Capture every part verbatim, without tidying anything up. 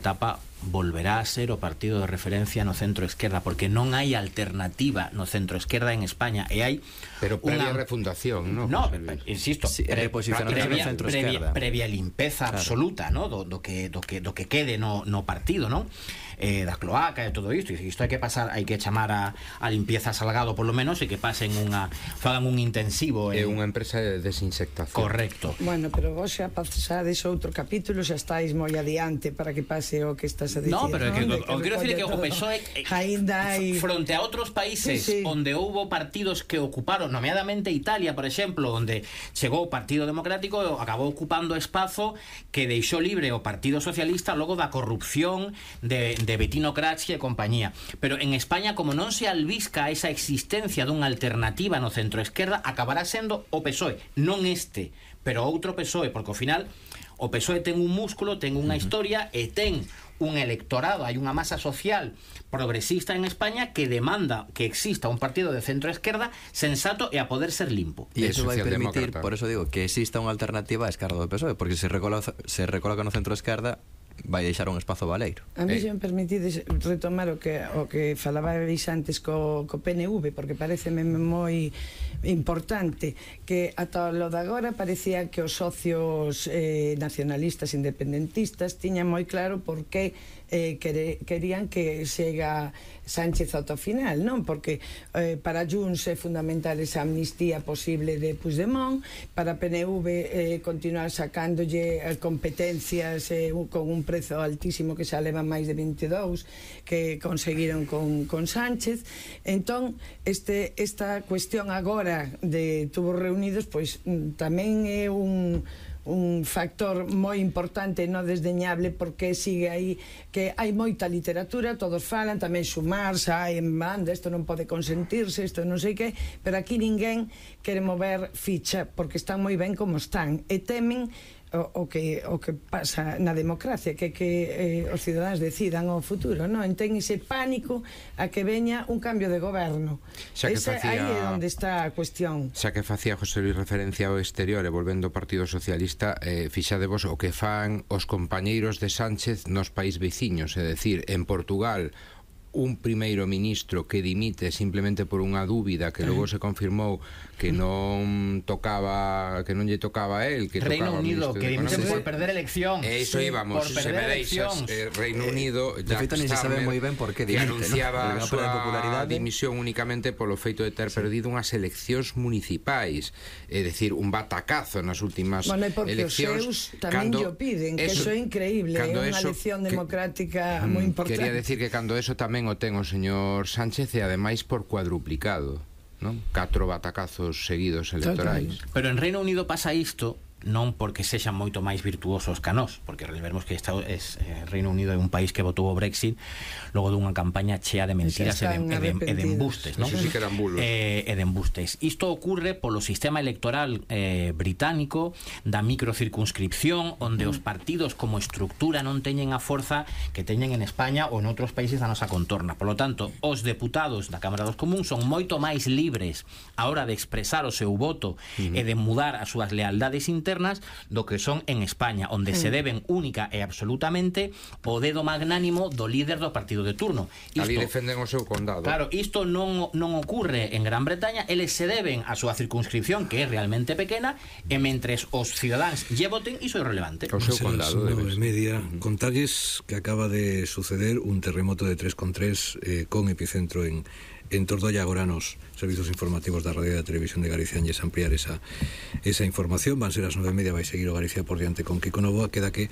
etapa volverá a ser o partido de referencia no centro-esquerda, porque non hai alternativa no centro-esquerda en España, e hai pero previa una... refundación, ¿no? No, insisto, sí, pre previa, previa, previa limpeza, claro, absoluta, ¿no? do, do, que, do, que, do que quede no, no partido, non? Eh, da cloaca e todo isto, e isto hai que pasar, hai que chamar a, a limpieza Salgado polo menos, e que pasen unha, fagan un intensivo en... É en... unha empresa de desinsectación. Correcto. Bueno, pero vos xa pasades outro capítulo, xa estáis moi adiante para que pase o que estás a dicir. No, pero é que, ¿no? o que quero dicir é que o P S O E hai... fronte a outros países, sí, sí, onde houbo partidos que ocuparon, nomeadamente Italia, por exemplo, onde chegou o Partido Democrático, acabou ocupando espazo que deixou libre o Partido Socialista logo da corrupción de, de Bettino Craxi e compañía. Pero en España, como non se albisca esa existencia dunha alternativa no centro-esquerda, acabará sendo o P S O E, non este, pero outro P S O E, porque ao final o P S O E ten un músculo, ten unha historia e ten un electorado, hai unha masa social progresista en España que demanda que exista un partido de centro-esquerda sensato e a poder ser limpo. E iso vai permitir, por eso digo, que exista unha alternativa á esquerda do P S O E, porque se recoloca, se recoloca no centro-esquerda vai deixar un espazo baleiro. A mí, eh. se me permitides retomar o que o que falabais antes co, co P N V, porque pareceme moi importante que ata lo de agora parecía que os socios eh, nacionalistas independentistas tiñan moi claro por que eh, quere, querían que chega Sánchez ao final, non? Porque eh, para Junts é fundamental esa amnistía posible de Puigdemont, para P N V eh, continuar sacándolle competencias eh, con un prezo altísimo que xa leva máis de vinte e dous que conseguiron con, con Sánchez. Entón, este, esta cuestión agora de tubos reunidos, pois tamén é un un factor moi importante, non desdeñable, porque sigue aí que hai moita literatura, todos falan, tamén Sumar, xa en banda, isto non pode consentirse, isto non sei que, pero aquí ninguén quere mover ficha, porque están moi ben como están, e temen O, o, que, o que pasa na democracia, que, que eh, os cidadáns decidan o futuro, non? Ten ese pánico a que veña un cambio de goberno. Esa, facía, aí é onde está a cuestión. Xa que facía José Luis referencia ao exterior e volvendo ao Partido Socialista, eh, fixadevos o que fan os compañeiros de Sánchez nos país veciños, é dicir, en Portugal un primeiro ministro que dimite simplemente por unha dúbida que logo se confirmou que non tocaba, que non lle tocaba a él, que Reino tocaba Unido, que dimite por perder eleccións. E iso sí, íbamos, se me deixas, eh, Reino Unido, de feito non se sabe moi ben por que dimite, anunciaba ¿no? a súa dimisión únicamente polo feito de ter sí. perdido unhas eleccións municipais, é dicir, un batacazo nas últimas bueno, eleccións. Os seus tamén lle piden, que eso é increíble, é unha elección democrática moi importante. Quería decir que cando eso tamén o ten o señor Sánchez e ademais por cuadruplicado, non? Catro batacazos seguidos electorais. Pero en Reino Unido pasa isto non porque sexan moito máis virtuosos que nós, porque vemos que está, es, eh, Reino Unido é un país que votou o Brexit logo dunha campaña chea de mentiras e de, e, de, e de embustes, non? Eso sí que eran bulos. Eh, e de embustes. Isto ocurre polo sistema electoral eh, británico da microcircunscripción, onde mm. os partidos como estructura non teñen a forza que teñen en España ou en outros países da nosa contorna. Por lo tanto, os deputados da Cámara dos Comuns son moito máis libres a hora de expresar o seu voto mm. e de mudar as súas lealdades internas do que son en España, onde mm. se deben única e absolutamente o dedo magnánimo do líder do partido de turno. Isto, ali defenden o seu condado. Claro, isto non, non ocurre en Gran Bretaña, eles se deben a súa circunscripción, que é realmente pequena, e mentres os cidadáns lle voten, iso é relevante. O seu condado. nove e media, contalles que acaba de suceder un terremoto de tres coma tres eh, con epicentro en en Tordolla. Agora nos servizos informativos da Radio e da Televisión de Galicia anlles ampliar esa, esa información. Van ser as nove e media, vai seguir o Galicia por diante con Kiko Novoa. Queda que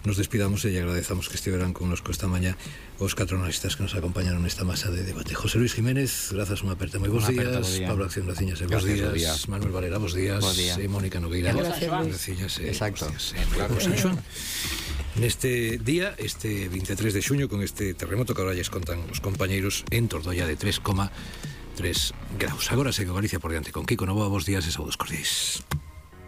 nos despidamos e lle agradezamos que estiveran con nos esta mañá os catro analistas que nos acompañaron nesta masa de debate. José Luis Jiménez, grazas, unha aperta moi bons días. Pablo Acción Raciñas, bons días. Día. Manuel Varela, bons días. Día. E Mónica Nogueira, Raciñas. Exacto. Claro, San Xoán. Neste día, este veintitrés de xuño, con este terremoto que agora lles contan os compañeiros en Tordolla de tres coma tres graus. Agora segue Galicia por diante con Kiko Novoa. Bos días e saúdos cordiais.